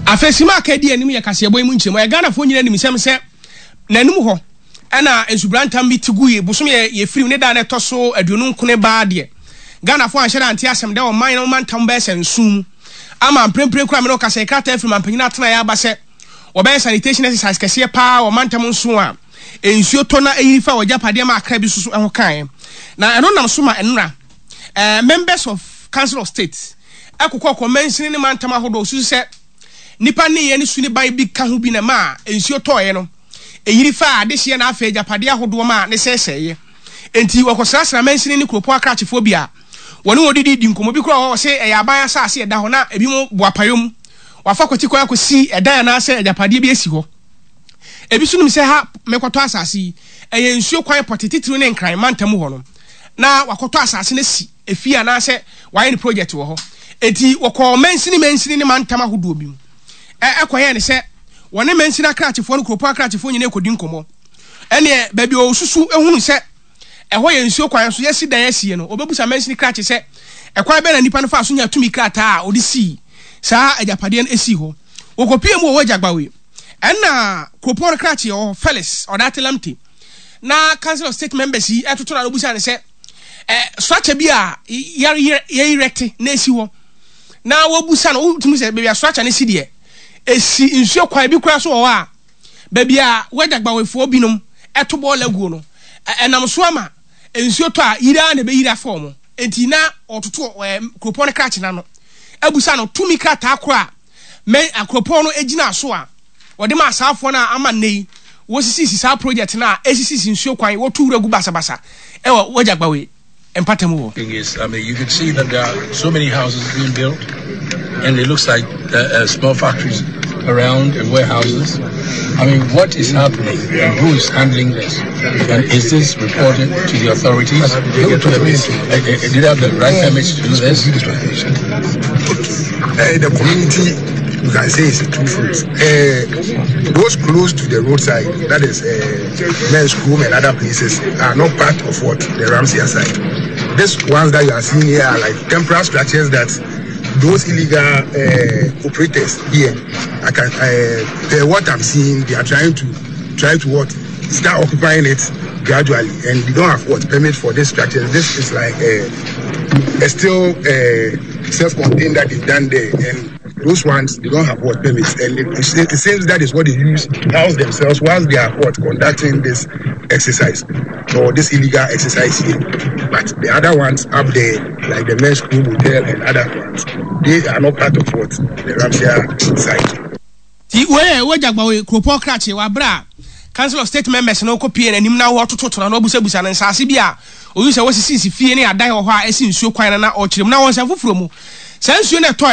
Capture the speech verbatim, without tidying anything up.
Afei sima aka di anim yɛ kaseɛbɔ yi mu nkyerɛmu. Ɛyɛ Ghanafoɔ nyinaa nim sɛm sɛ n'anim hɔ ɛna nsubrantam bi te gu yi bosom yɛ yɛfirim ne da na ɛtɔ so aduonu nkone baa deɛ, Ghanafoɔ anhyɛ da ante asɛm dɛ ɔman no mantam bɛyɛ sɛ nson mu ama mprempren kora me ne ɔkasa krataa afiri mampanyin atena yɛ aba sɛ wɔbɛyɛ sanitation exercise kɛseɛ paa wɔ mantam nson a nsuo tɔ na ɛyiri fa wɔgyapadeɛ ma akra bi soso ɛho kaeɛ. Na ɛno nam so ma ɛnora ɛɛ members of Council of State ɛkokɔ kɔ mansini ne mantam ahodoɔ susu sɛ nipa ne yɛ ne su ne ban bi ka ho bi na ma nsuo tɔɔyɛ no ɛyiri fa adehyeɛ na afei agyapadeɛ ahodoɔ ma ne sɛesɛeɛ. Nti wɔkɔsrasra mansini ne kuropɔn akrakyefoɔ bi a wɔne wɔn didi di nkɔmmɔ bi koraa wɔ sɛ ɛyɛ aban asase ɛda hɔ na ebi mo boapayɔ mu wafa kwati kwan akɔsi ɛdan anaasɛ agyapadeɛ bi asi hɔ. Ebi nso nim sɛ ha mekɔtɔ asase yi, ɛyɛ nsuo kwan pɔte titiri ne Nkran mantam hɔ no na wakɔtɔ asase no si efie anaasɛ wayɛ ne project wɔ hɔ. Eti wɔkɔɔ mansini mansini ne mantam ahodoɔ bi mu ɛ ɛkɔyɛ ne sɛ wɔne mansini akrakyefoɔ no, kuropɔn akrakyefoɔ nyinaa ekɔdi nkɔmmɔ. Ɛneɛ baabi a osusu ehunu sɛ ɛhɔ yɛ nsuo kwan so yɛsi dan asie no, obɛbusa mansini krakye sɛ ɛkwan bɛn na nipa no fa so nya tumi krataa a ɔde sii saa agyapadeɛ no esi hɔ. Wɔkɔpie mu wɔ Wɔ ɛna kuropɔn no krakye wɔ Felix Ɔdate Lamte na Council of State members yi ɛtoto na obusa ne sɛ ɛ structure bi a yɛyerɛte na esi hɔ na wɔbusa no, wotumi sɛ baabi a structure no si deɛ, esi nsuo kwan bi kura so wɔ hɔ a baabi a wɔagyagbawɛfoɔ binom ɛto bɔɔl aguo no, ɛnam so ama nsuo tɔ a yiri na ɛbɛyiri afa wɔn. Nti na ɔtoto ɛɛ kuropɔn no krakye n'ano abusa no tumi krataa koro a mɛ akuropɔn no gyina so a wɔde ma asaafoɔ no a ama nne yi wɔsisisi saa project no a esisisi nsuo kwan, wɔtu wura gu basabasa ɛwɔ Wɔgyagbawe mpatamu hɔ. Thing is, I mean, you can see that there are so many houses being built, and it looks like uh, uh, small factories around and warehouses. I mean, what is happening and who is handling this? And is this reported to the authorities? Uh, uh, do they have the right permits to do this? Uh, the community, you can say it's two fruits. Uh, those close to the roadside, that is uh, Men's Room and other places, are not part of what the Ramsey side. These ones that you are seeing here are like temporary structures that those illegal uh, operators here, I can, uh, what I'm seeing, they are trying to try to what start occupying it gradually, and they don't have what permit for this structure. This is like a, a still uh, self-contained that they've done there, and those ones, they don't have what permits, and it, it, it seems that is what they use to house themselves whilst they are what conducting this exercise or this illegal exercise here. But the other ones up there, like the Men's Room Hotel and other ones, they are not part of what the Ramsey side. Ti wei Wɔgyagbawe kuropɔn krakye wabere a Council of State members no kɔ pie n'anim na wɔtototo na wɔbusabusa no nsaase bi a oyi sɛ wɔsisisi fie ne adan wɔ hɔ a ɛsi nsuo kwan no na ɔkyerɛ mu na wɔn nsa foforɔ mu saa nsuo no ɛtɔ.